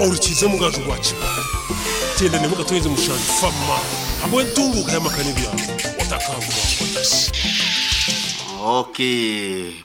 Orukiize omugaju gwa Kibaale, Tenda n'emwe 7 Fama ahabw'entunguuka y'amaka n'ebyaro. Otakangwa otashi. Ok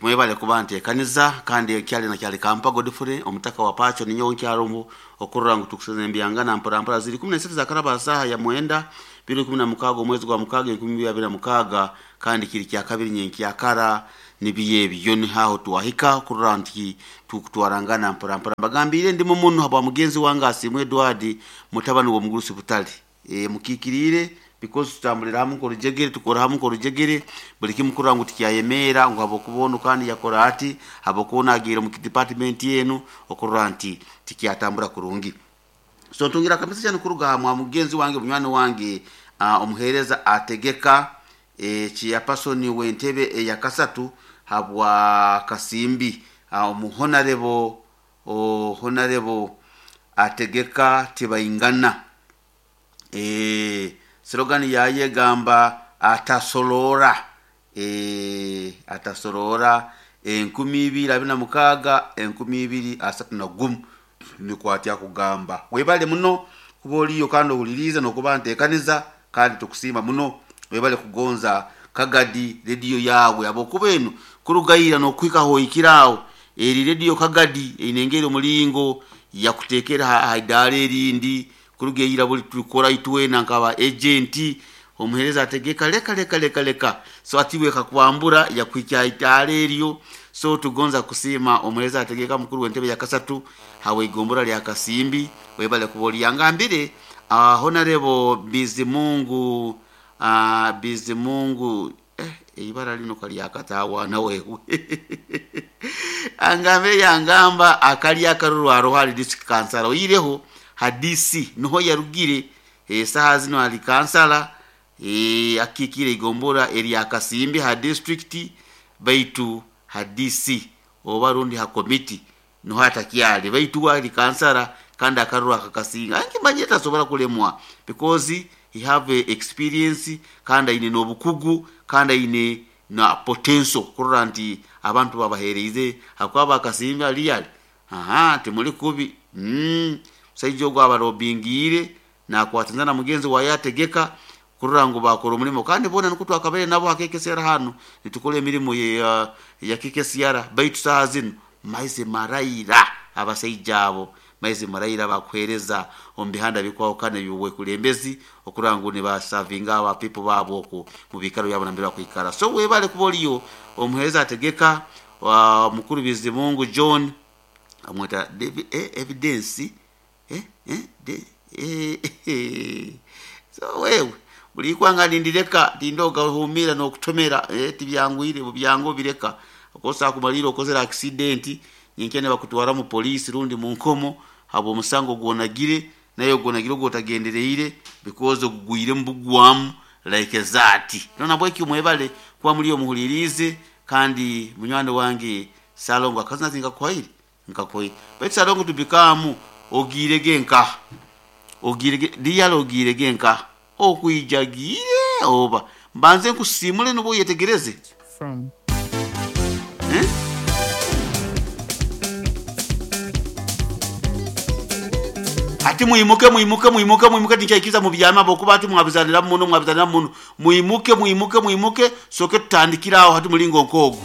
mwebale kuba ntekaniza kandi kyali na kyali Kampa Godfrey omutaka wa Pacho ninyowe nkyaromho okurora ngu tukuseza embyangana mpora mpora ziri 13 zakaraba ha saaha ya mwenda biro 16 omwezi gwa mukaaga 2026 kandi kiri kyakabiri nyenkyakara nibiyo ebyo niho twahika kurora nti tukutwarangana mpora mpora mbagambiire ndimu muno habwa mugenzi wange Asiimwe Edward mutabani w'omugurusi Butale e, mukikiriire because tutambulira hamu nk'orujegere tukora hamu nk'orujegere buli kimu kurora ngu tikyayemeera ngu habwokuba onu kandi yakora ati habwokuba onu agiire omu department enu okurora nti tikyatambura kurungi so ntungira akamesa cyane kuruga aha mwa mugenzi wange munywani wange uh, omuheereza ategeka e, chairperson w'entebe eya kasatu habwa Kasimbi uh, omuhonarebo honarebo ategeka tibaingana e, slogan yaye egamba atasorora e, atasorora 2026 2031 nikwatya kugamba webale muno kuba oliyo kandi ohuliriize nokuba ntekaniza kandi tukusiima muno webale kugonza Kagadi rediyo yawe habwokuba enu kurugaira nokuhika hoikira aho eri rediyo Kagadi eine engeri omulingo yakutekera ha idaara erindi kuruga eira buli tukora itwena nkaba agenti omuhereza ategeka leka leka leka leka so atiwe kakwambura yakuhikya idaara eryo so tugonza kusiima omuhereza ategeka mukuru w'entebe ya kasatu hawe igombora lya Kasimbi webale kuba oliyangambire uh, honarebo Bizimungu uh, Bizimungu eibara lino kalyakatawana wewe angambire yangamba akali akaruru aroho ali district kansala oyireho hadisi niho yarugire esaha zino ali kansala e, akikire igombora erya Kasimbi ha district baitu hadisi oba rundi ha committee niho atakyali baitu ali kansala kandi akaruru akakasinga ankimanye tasobora kulemwa because he have a experience kandi aine n'obukugu kandi aine na potential kurora nti abantu babahereize hakuba bakasimba aliyali aha timuli kubi musaija ogwo abarobingiire nakwataniza na mugenzi waye ategeka kurora ngu bakora omulimo kandi boona nikwo twakabaire nabo ha KKCR hanu nitukora emirimo ya KKCR baitu saaha zinu maize maraira abasaija abo maize maraira bakuheereza omu bihanda bikwahukana eby'obwekulembezi okurora ngu nibasavinga aba people baabo oku mu biikaro byabo nambere bakwikara so webale kuba oliyo omuheereza ategeka uh, mukuru Bizimungu John amweta David, evidence eh, eh, de, eh, eh. So wewe buli ikwanga nindireka tindoga humira nokutomera eh, tibyangwire bubyango bireka okosa kumalira okozera accident nyinkene bakutwara mu police rundi mu nkomo habo omusango gwonagire naye gwonagire gwotagendereire because ogugwire mbugwamu like that nona bweki mwebale kuba muri omuhulirize kandi munywani wange Salongo akazina tinkakuhaire nkakuhaire baitu Salongo tubikamu ogirege nka ogirege diyalo ogirege nka okwijagiire oba mbanze nkusimule nubo yetegereze From eh? Ati mwimuke mwimuke mwimuke mwimuke tinkyaikiza mu byama bokuba ati mwabizanira muno mwabizanira muno mwimuke mwimuke mwimuke soke tutandikira aho hati mulingo nkogo.